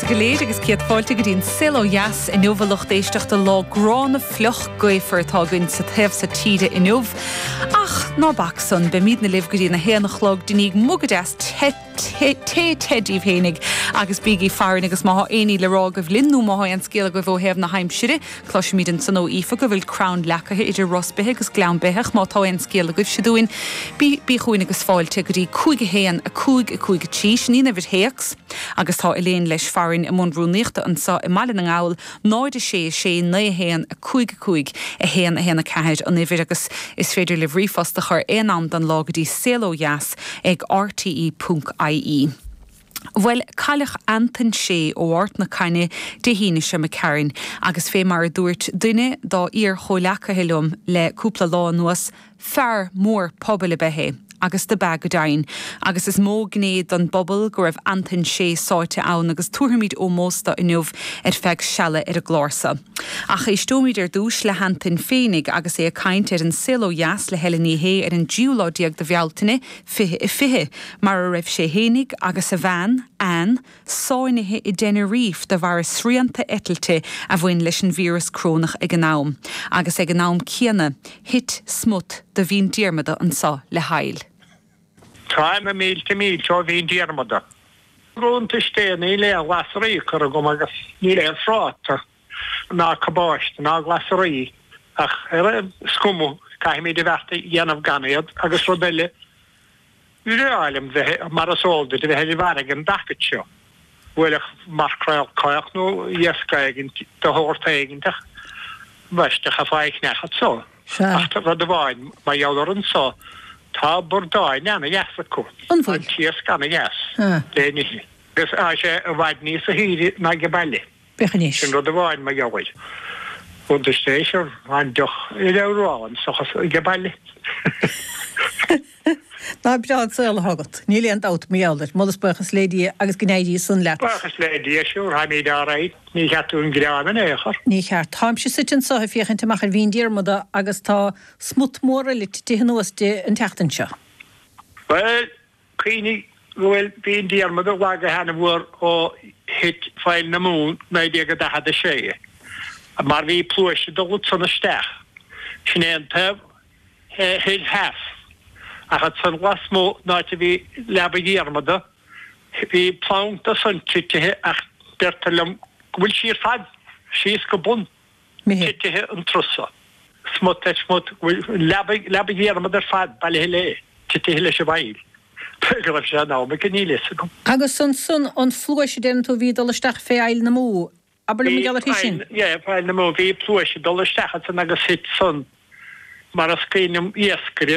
go léir agus céad fáilte go dtí an Saol Ó Dheas inniu a lucht éisteachta. Lá gránna fliuch gaofar atá againn sa taobh so tíre inniu. Ach ná bac san, beimídne libh go dtí an 1 a chlog déanaigí muga deas te te te te díbh fhéinig agus bígí farainn agus má thá aon ní le rá agaibh linn nó má thá aon scéal agaibh ó thaobh na haimsire, Cloisimid ansan ó Aoife go bhfuil crann leacaithe idir Ros Beithe agus Gleann Beitheach. Má tá aon scéal agaibhse dúinn, bí bí chugainn agus fáilte go dtí 5 1 5 5 3. Sin í an uimhir théacs agus tá Elaine leis farainn i mbun rúnaíochta anso i mBaile na nGall, 0 6 6 9 1 5 5 1 1 4 an uimhir agus is féidir libh ríomhphost a chur aon am den lá go dtí saolodheas ag rte.ie. Bhuel, cailleadh Antain Sé ó Ard na Caithne Dé hAoine seo imigh tharainn agus fé mar a dúirt duine dá iar-chomhleacaithe liom le cúpla lá anuas, fear mór pobail ab ea é. Agus do b'ea go deimhin. Agus is mó gné don bpobal go raibh Antain Sé sáite ann agus tabharfaimid ómós do inniu ar feadh seala ar an gclár so. Ach éisteoimid ar dtúis le hAntain féinig agus é ag caint ar An Saol Ó Dheas le Helen Ní Shé ar an dtríú lá déag de Bhealtaine, 2020, mar a raibh sé fhéinig agus a bhean, Ann, sáinnithe i dTenerife de bharr srianta eitilte a bhain leis an víreas corónach ag an am, agus ag an am céanna, thit smut de Mhín Diarmada anso le haill. Táim na mílte mílte ó Mhín Diarmada. Roimhe seo níl aon ghlasraí curtha agam agus níl aon phráta ná cabáiste ná glasraí ach ar an scuma caithfimid a bheart a dhéanamh gan iad agus rud eile bhreá liom bheith mar is eol duit a bheith ar an bhfarraige an dtacaid seo. Bhuailfeadh maircréal caoch nó iasc éigint de shórt éigint ach ambaiste chaithfeá é a cheannach anso. Ach rud amháin mar gheall ar anso tá bordáin ana-dheas acu. An bhfuil? Tá an t-iasc ana-dheas le n-ithe. Agus tá sé i bhfad níosa shaoire ná age baile. Féach anois. Sin rud amháin mar gheall air. Roimhe seo an deoch ar amhrán seachas age baile. Ná breá an saol atá agat. Níl aon dabht mar gheall air. Moladh is buíochas le Dia agus go n-éirí san leat. Buíochas le Dia, sure, táimid alright. Ní cheart dúinn gearán in aon chor. Ní cheart. Táimse suite anso ag féachaint amach ar Mhín Diarmada agus tá smut mór eile titithe anuas di an tseachtain seo. Bhuel, Cuimhnigh go bhfuil Mín Diarmada lagaithe ana-mhór ó thit Faill na Mumhan 1946, mar bhí pluais ag dul ansan isteach. Sin é an taobh thoir theas. Ach ansan lasmuigh, an áit a bhí Leaba Dhiarmada, bhí planc de san titithe ach deirtear liom go bhfuil sí ar fad síos go bun. titithe an turas so. Smut ar smut, leaba, leaba Dhiarmada ar fad bailithe léi, titithe leis an bhfaill. Go raibh sé in am aici, níl fhios agam. Agus ansan an phluais a deireann tú a bhí ag dul isteach fé Fhaill na Mó, abair liom mar gheall uirthi sin. Yeah, Faill na Mó, bhí pluais ag dul isteach ansan agus thit san, mar is cuimhin liom iascaire.